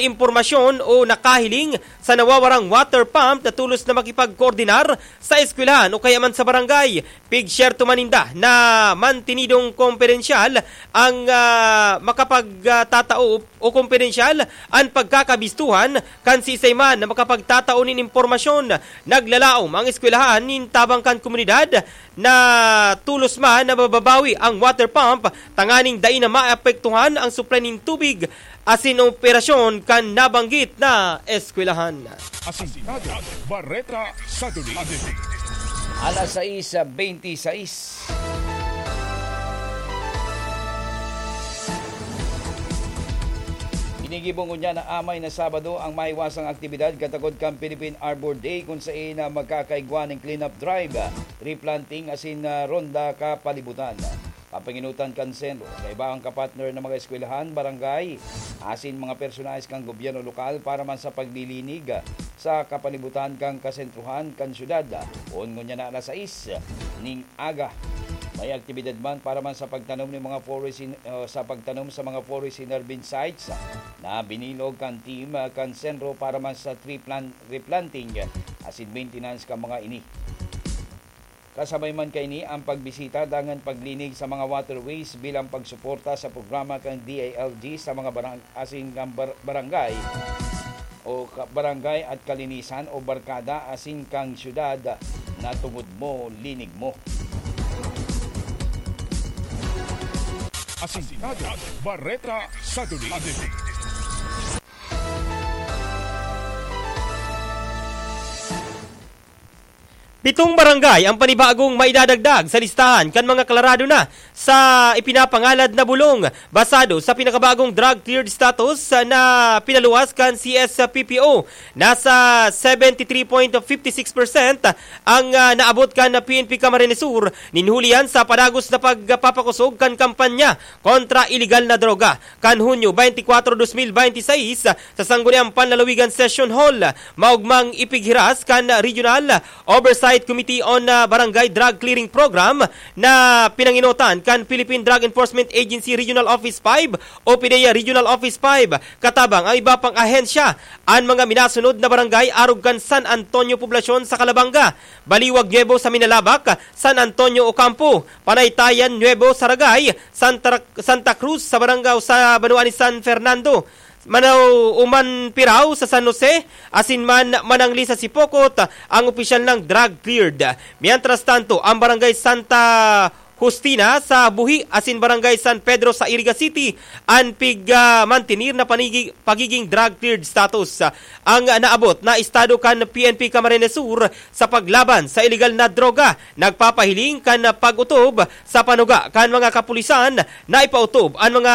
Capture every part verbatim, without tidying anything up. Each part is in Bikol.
impormasyon o nakahiling sa nawawarang water pump na tulos na makipagkoordinar sa eskwelahan o kaya man sa barangay. Pigsyerto man ninda na mantinidong kompedensyal ang, ah, makapagtatao o kompedensyal an pagkakabistuhan kan siisay man na makapagtatao nin impormasyon. Naglalaom ang eskwelahan nin tabang kan komunidad na tulos man na mababawi ang water pump tanganing dai na maapektuhan ang supply nin tubig asin operasyon kan nabanggit na eskwelahan. Asintado, Bareta sa Dulig. Alas sais bente sais. Ginigibo ngunyan na amay na Sabado ang mahiwasang aktibidad katagod kan Philippine Arbor Day, kun saen na magkakaigwa nin clean-up drive, replanting asin, ah, ronda kapalibutan. Kapangenotan kan Senro, kaiba ang kapartner na mga eskwelahan, barangay, asin mga personahes kan gobyerno lokal para man sa paglilinig sa kapalibutan kan kasentrohan kan syudad. Poon ngunyan na alas sais ning aga, may aktibidad man para man sa pagtanom nin mga forest in, uh, sa pagtanom sa mga forest inerving sites na binilog kan team, uh, kan Senro para man sa tree plant replanting asin maintenance kan mga ini. Kasabay man kaini ang pagbisita dangan paglinig sa mga waterways bilang pagsuporta sa programa kan D I L G sa mga barang-, asin kan bar-, barangay o ka-, barangay at kalinisan o barkada asin kan syudad na tungod mo, linig mo. Asintado, Bareta sa Dulig. Pitong barangay ang panibagong maidadagdag sa listahan kan mga klarado na sa ipinapangalad na bulong. Basado sa pinakabagong drug cleared status na pinaluwas kan C S P P O, nasa seventy three point fifty six percent ang, ah, naabot kan P N P Camarines Sur nin huli yan sa padagos na pagpapakosog kan kampanya kontra iligal na droga. Kan Hunyo twenty-four, dos mil bente seis, sa Sangguniang Panlalawigan Session Hall, maogmang ipighiras kan Regional Oversight Committee on, ah, Barangay Drug Clearing Program na pinangenotan kan Philippine Drug Enforcement Agency Regional Office five o PDEA Regional Office five, katabang ang iba pang ahensya, an mga minasunod na barangay arog kan San Antonio Poblacion sa Calabanga, Baliwag Nuevo sa Minalabac, San Antonio Ocampo, Panaytayan Nuevo sa Ragay, Santa, Santa Cruz sa barangay sa banwaan ni San Fernando, Manauman Pirao sa San Jose, asin man Manangli sa Sipocot, ang opisyal ng drug cleared. Mientras tanto, ang barangay Santa Justina sa Buhi asin barangay San Pedro sa Iriga City, an pig, ah, mantenir na panigi-, pagiging drug cleared status. Ang naabot na estado kan P N P Camarines Sur sa paglaban sa iligal na droga, nagpapahiling kan pag-otob sa panuga kan mga kapulisan na ipaotob an mga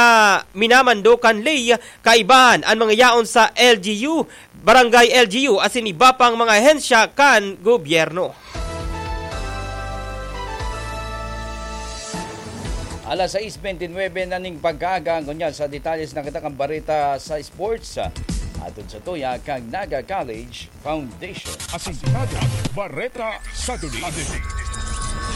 minamando kan ley, kaibahan an mga yaon sa L G U, barangay L G U, asin iba pang mga ahensya kan gobyerno. Alas sais bente nuebe na ning pagkaaga, ngunyan sa detalye na kita kan bareta sa sports. Atod sa tuya kan Naga College Foundation. Asintado, Bareta sa Dulig.